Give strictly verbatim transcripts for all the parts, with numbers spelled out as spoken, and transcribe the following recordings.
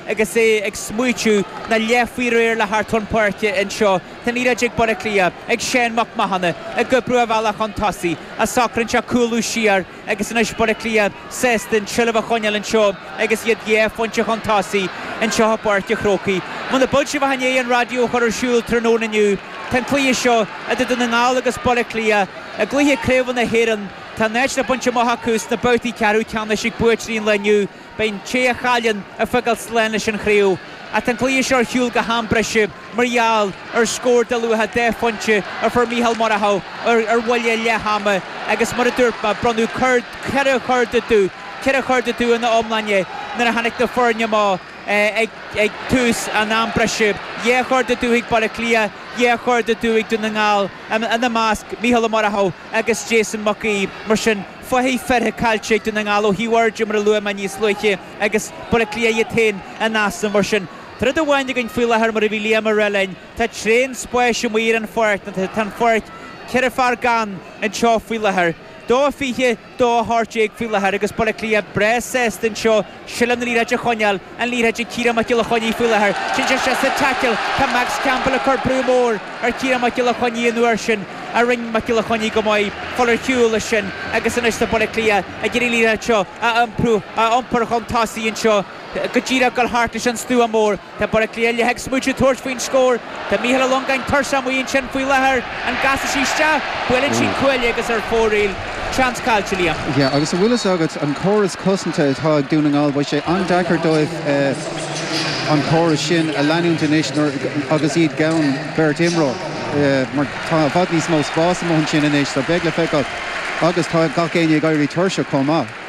agus é ag smaoitiú na leith faoi réir le thart chun páirce anseo. Tá an liathróid ag Baile Átha Cliath ag Shane Mac Mathúna ag oibriú a bhealach chun tosaigh a socraíonn sé cúlú siar agus anois Baile Átha Cliath sásta an tseilbh a choinneáil anseo agus iad dhá phointe chun tosaigh anseo i bPáirc an Chrócaigh. Muna bhfuil sibh i ndiaidh an raidió a chur ar siúl tráthnóna inniu, Tá an cluiche seo idir Dún na nGall agus Baile Átha Cliath i gcluiche craoibhe na hÉireann Tá an áit le baint amach acu sna babhtaí ceathrú ceannais ag buaiteoirí an lae inniu, beidh an té a chailleann ag fágáil slán leis an chraobh. Ach tá an cluiche seo ar shiúl go ham breise mar gheall ar scór de luaithe dhá phointe a fuair Mícheál Murchú ar ar bhuille leath ama agus mar a dúirt mé bronnadh ceithre chorda dubh, ceithre chorda dubh ina iomláine nuair a tháinig na foirne amach ag ag tús an am breise. Dhá chorda dubh ag Baile Átha Cliath, dhá chorda dubh ag Dún na nGall ina measc Mícheál Murchú agus Jason Mac Aoidh mar sin fathaigh feartha caillte ag Dún na nGall ó thaobh mar a luaigh mé níos luaithe agus Baile Átha Cliath iad féin in easnamh mar sin. Tá rud amháin againn faoi láthair mar a bhí Liam ag rá linn, Tá tréan spáis amuigh ar an pháirc tá an pháirc ceithre fear gann anseo faoi láthair. Dó fiche dó hocht déag faoi láthair agus Baile Átha Cliath breá sásta anseo seilbh na liathróide a choinneáil an liathróid ag Ciarán Mac Giolla Chainnigh faoi láthair. Sin sé sa tackle Tá Max Campbell ag cur brú mór ar Ciarán Mac Giolla Chainnigh an uair sin a rinne Mac Giolla Chainnigh go maith fáil ar shiúl sin agus anois tá Baile Átha Cliath ag iarraidh liathróid seo a iompú a iompar chun tosaigh anseo go díreach go thart leis an stua mór Tá Baile Átha Cliath le ag smaoineamh tabhairt faoin scór Tá Mícheál Ó Longáin tuirseach amuigh ansin faoi láthair an gcasfaidh sí isteach buaileann sí cuaille agus ar fóraoil seans caillte Liam. Ja, agus a bhfuil agat an córas cosanta atá ag Dún na nGall, beidh sé an-deacair dóibh an córas sin a leanúint anois agus iad gan beirt imreoir. mar tá i bhfad níos mó spás amuigh ansin anois, so beidh le feiceáil agus tá gach éinne ag éirí tuirseach chomh maith.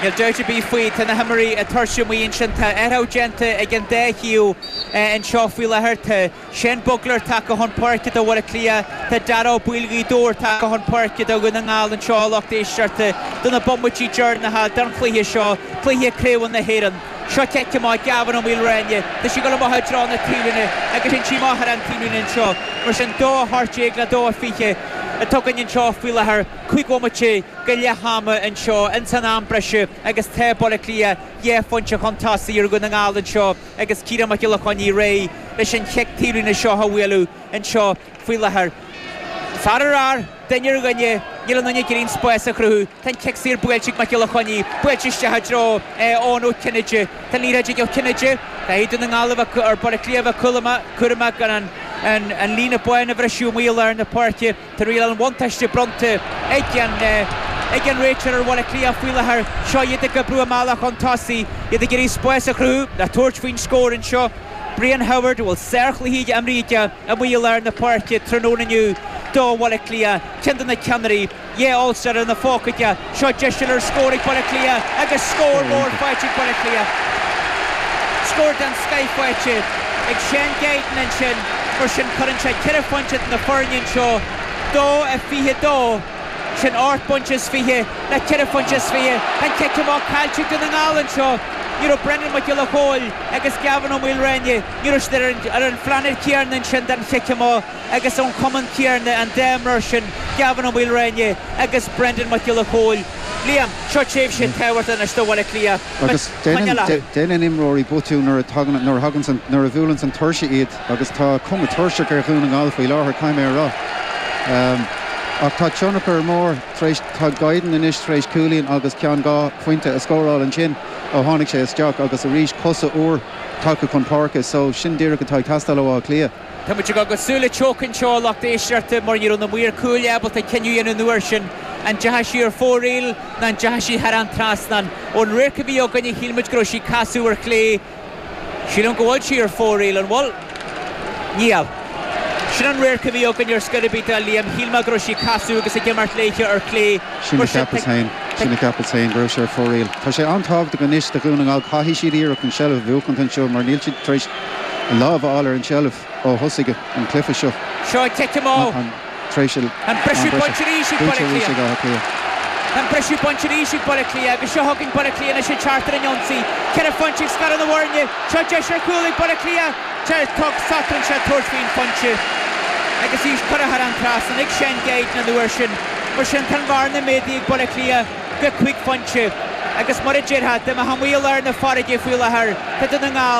Níl dabht ar bith faoi tá na himreoirí tuirseach amuigh ansin tá athrú déanta ag an dá thaobh anseo faoi láthair tá Shane Bugler tagtha chun páirce do Bhaile Átha Cliath Tá Dara Builgaí dóir tagtha chun páirce do Dhún na nGall anseo lucht éisteachta do na bomaití deireanacha den chluiche seo cluiche craoibhe na hÉireann. Seo cic amach Gavin Ó Maoilréine, Tá sí go maith trá na taobhlíne agus sin sí maith ar an taobhlíne anseo, mar sin dó hocht déag le dó fiche atá againn anseo faoi láthair cúig bhomaite go leath ama anseo in san am breise agus tá Baile Átha Cliath dhá phointe chun tosaigh ar Dhún na nGall anseo agus Ciarán Mac Giolla Chainnigh réidh leis an chic taobhlíne seo a bhualadh anseo faoi láthair. Fear ar fhear duine ar dhuine níl aon duine ag iarraidh spás a chruthú Tá cic saor buailte ag Mac Giolla Chainnigh buailte isteach i dtreo Eoin Ó Cinnéide Tá liathróid Ó Cinnéide Tá Dún na nGall ar Baile Átha Cliath cúramach gan an an líne báin a bhriseadh amuigh ar na páirce Tá riail an bhuntáiste bronnta ag an ag an réiteoir ar Bhaile Átha Cliath faoi láthair seo iad ag oibriú a mbealach chun tosaigh iad ag iarraidh spás a chruthú le tabhairt faoin scór anseo. Brian Howard bhfuil sárchluiche imeartha amuigh ar na páirce tráthnóna inniu do Bhaile Átha Cliath ceann de na ceannairí dhá All-Star ina phóca seo deis ar scór ag Baile Átha Cliath agus scór mór faighte ag Baile Átha Cliath. Scór den scoth faighte ag Shane Guiden ansin mar sin cuireann sé ceithre phointe na foirne anseo dó a fiche dó sin ocht bpointe is fiche le ceithre phointe is fiche an cic amach caillte Dún na nGall anseo. Ní raibh Brendan Mac Giolla Chóill agus Gavin Ó Maoilréine ní raibh ar an phláinéad céanna ansin den chic amach agus ón chumann céanna an dá imreoir sin Gavin Ó Maoilréine agus Brendan Mac Giolla Chóill. Liam seo tréimhse tábhachtach anois do Bhaile Átha Cliath. Agus déanann imreoirí botún nuair nuair thagann nuair a bhuaileann an tuirse iad agus tá cuma tuirseach ar Dhún na nGall faoi láthair caithfidh mé a rá. Um, ach tá tionchar mór tréis tá Guiden anois tréis cúilín agus ceann dhá phointe a scóráil ansin ó tháinig sé isteach agus arís cosa úr tagtha chun páirce, so sin díreach atá ag teastáil ó Áth Cliath. Tá muid go cosúil le teochan seo lucht éisteachta mar ní raibh na maoir cúil ábalta cinneadh an uair sin an ndeachaigh sí ar fóraoil ná an ndeachaigh sí thar an trasnán. Ón radharc a bhí againne shíl muid go raibh sí casadh ar chlé Sílim go bhfuil sí ar fóraoil an bhfuil Níl. Sin an radharc a bhí againn ar scor ar bith a Liam shíl mé go raibh sí casadh agus ag imirt léithe ar chlé. Sin a cheapas féin sin a cheapas féin go raibh sé ar fóraoil. Tá sé an-tábhachtach anois do Dhún na nGall caithfidh siad iarracht an seilbh a bhuachan anseo mar níl siad tar éis lámh a fháil ar an seilbh ó thosaigh an cluiche seo. Seo cic amach Tréis an briseadh bainte arís ag Baile Átha Cliath. An briseadh bainte arís ag Baile Átha Cliath agus seo chugainn Baile Átha Cliath anois ag teacht ar an ionsaí. Ceithre phointe ag scaradh na bhfoirne, seo deis ar chúl ag Baile Átha Cliath tug socraíonn sé tabhairt faoin phointe. Agus í curtha thar an trasnán ag Shane Guiden an uair sin, mar sin tá an bhearna méadaithe ag Baile Átha Cliath go cúig phointe. Agus mar a déarfá dá mbeifeá amuigh ar na farraige faoi láthair Tá Dún na nGall